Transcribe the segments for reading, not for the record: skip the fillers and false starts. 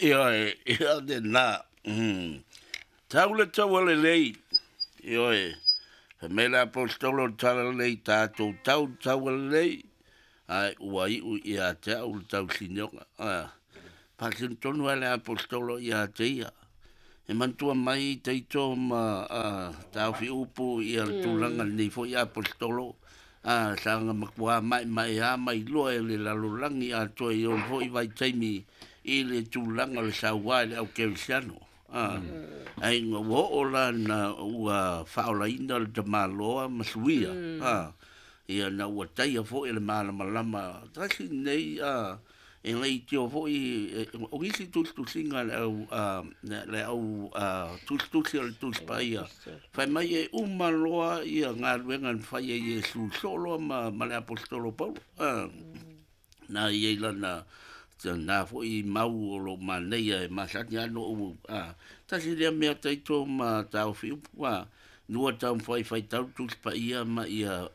Ioe, ia lena. Tau le taua lelei. Ioe, fai mai le Aposetolo o le Talalelei, tatou tau le taua lelei, ae ua iu ia te au le tausinioga. Faasino tonu lava le Aposetolo ia te ia. E manatua mai Taito ma taofi upu ia le tulaga lenei foi Aposetolo, sa na matua maemaea mai loa e le lalolagi atoa i ona foi vaitaimi i le tulaga o le saua i le au kerisiano. Ae ina ua oo la na ua faaolaina le tamaloa ma suia, ia na ua taia foi e le malamalama tasi lenei, e leitio foi o nisi tusitusiga a le au le au tusitusi o le Tusi Paia, fai mai e uma loa ia galuega na fai e Iesu soo loa ma le Aposetolo o Paulo. Na i ai lana na foi mau o lo o manaia e masani lava ona ou tasi lea mea taito ma taofi upu, lua taumafai e faitau le Tusi Paia ma ia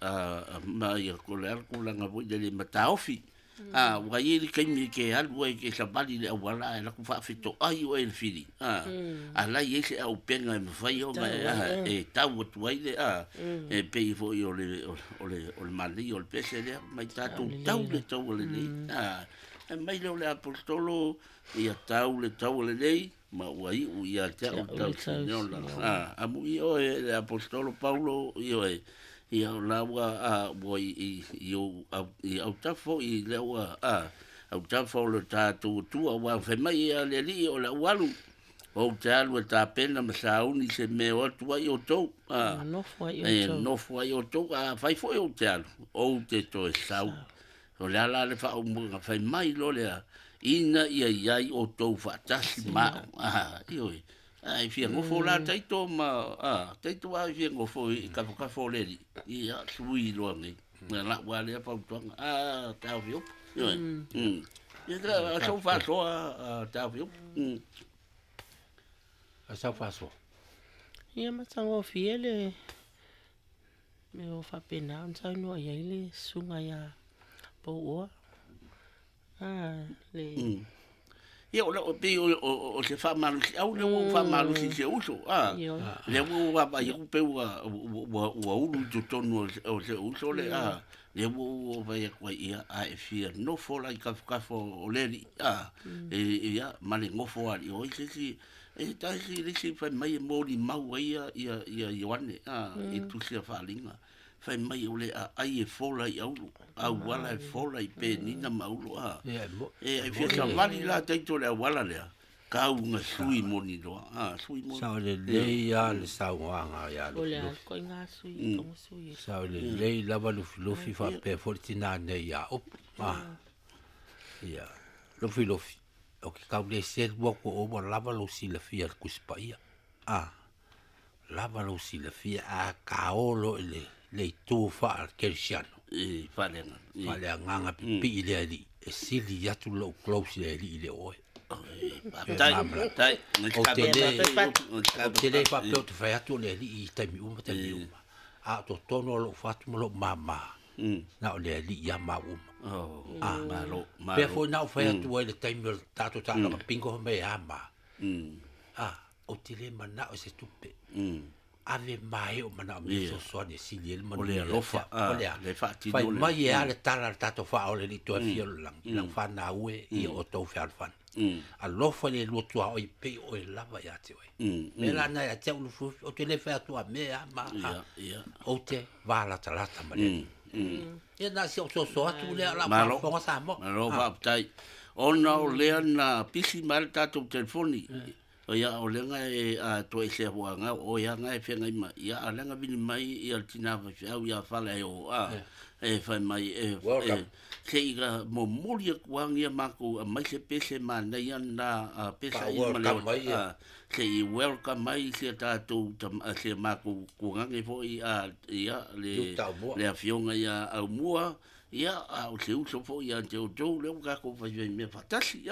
ma ia o le a le tulaga foi lele ma taofi. Ua i ai le taimi e te alu ai e te savali i le auala ae alu atu faafetoai oe e le fili, a la e i ai se auupega e mafai ona e tau atu ai le, e pei foi o le o le o le manaia o le pese lea, mai tatou tau le taua lelei. Fai mai lea o le Aposetolo, ia tau le taua lelei, ma ua iu ia te au le tausiniola. Amuia oe le Aposetolo Paulo, ioe, ia o la ua ua i i ou i autafa foi lea ua autafa o le tatou Atua, aua fai mai ia le Alii o le au alu, ou te alu e tapena ma sauni se mea o atu ai outou, e nofo ai outou, a fai foi ou te alu, ou te toe sau. O le a la le faaumaga fai mai loa lea, ina ia i ai outou faatasi ma au. Ioe, a e fia nofo la Taito ma, Taito a e fia nofo i tafatafa o le Alii, ia, sui loa nei. Na lau lava lea fautuaga, taofi upu. Ioe, ia, sau faasoa taofi upu. Sau faasoa. Ia matagofie le mea o faapena ona saunoa i ai le susuga ia Pouoa. Le Ia, o le pei o se faamalosiau lea ua ou faamalosi i si ou uso. Lea ua ou vaavaai atu pei ua ulu i totonu o si ou uso le, lea ua ou vaai atu ai, ia, a e fia nofo la i tafatafa o le alii, ia, ma le nofo alii, o ai se isi, e tasi le isi fai mai e molimau ai ia Ioane, i le tusi a Faaaliga. Fai mai o le aai e fola i auro, auala e fola i penina ma auro, a. E fia savali la Taito i le auala lea, tau ina sui moni loa, a, sui moni. Sao lelei lava le saunoaga ia Lufilufi. Sao lelei lava Lufilufi faapea foi le tina nei ia Upu. Ia, Lufilufi, ou te tau le selu atu o oe ua lava lou silafia i le Tusi Paia. A, lava lou silafia a taolo loa i le, le itu faa-kerisiano. I, faaleagaga. Faaleagaga pipii le alii, e sili atu lou close i le alii i le oe. Faafetai, faafetai. Ou te le, ou te le faapea ou te fai atu o le alii i taimi uma, taimi uma. A o totonu o lou fatu ma lou mama, na o le alii ia maua uma. Ah, malo, malo. Pea foi na ou fai atu ai le taimi o le tatou taaloga bingo fai mai e a ma. Ah, ou te le manao i se tupe. Ave mai o manaomia fesoasoani e sili ai le manuia. O le alofa, o le a? Le faatino Fai mai e a le tala a le tatou faaole i toe fia o le lagi, lau fanau e, ia outou fealofani. Alofa i le lua tuaoi e pei o oe lava ia te oe. Mea la na ia te au Lufilufi, ou te le fai atu a mea a ma a. Ou te valatalata ma le Alii. Ia na si ou soso atu lea o la faafofoga Samoa. Malo faafetai. Ona o lea na pisi mai le tatou telefoni. Ia o lea na e toesea foi na o oe lava na e feagai mai. Ia a o lea na vili mai ia le tina faifeau ia Faleaio e fai mai e se i momoli atu lava nia matou aumai se pese manaia lena pesa ia ma le se i welcome mai si a tatou si a matou tuagane foi ia le afioga ia Aumua, ia a o se uso foi ia te outou lea ua tatou faifai mea faatasi.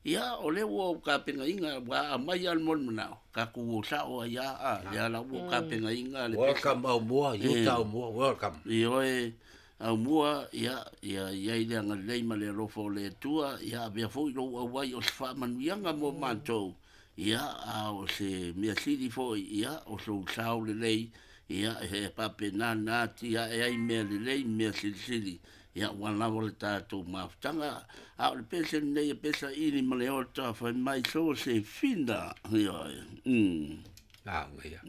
Ia o lea ua ou tapenaina, ua aumai lava le molimanao, tatou o sao ai lava, lea la ua ou tapenaina le pesa. Welcome Aumua, Utah Aumua, welcome. Ioe. Aumua, ia, ia i ai le agalelei ma le alofa o le Atua, ia avea foi lou auai o se faamanuiaga mo matou, ia, a o se mea sili foi, ia, o sou sao lelei, ia, e faapena ona atiae ai mea lelei ma mea silisili, ia, ua lava le tatou mafutaga. A o le pese lenei e pesa ili ma le ota fai mai so se fina, ioe. Lauga ia.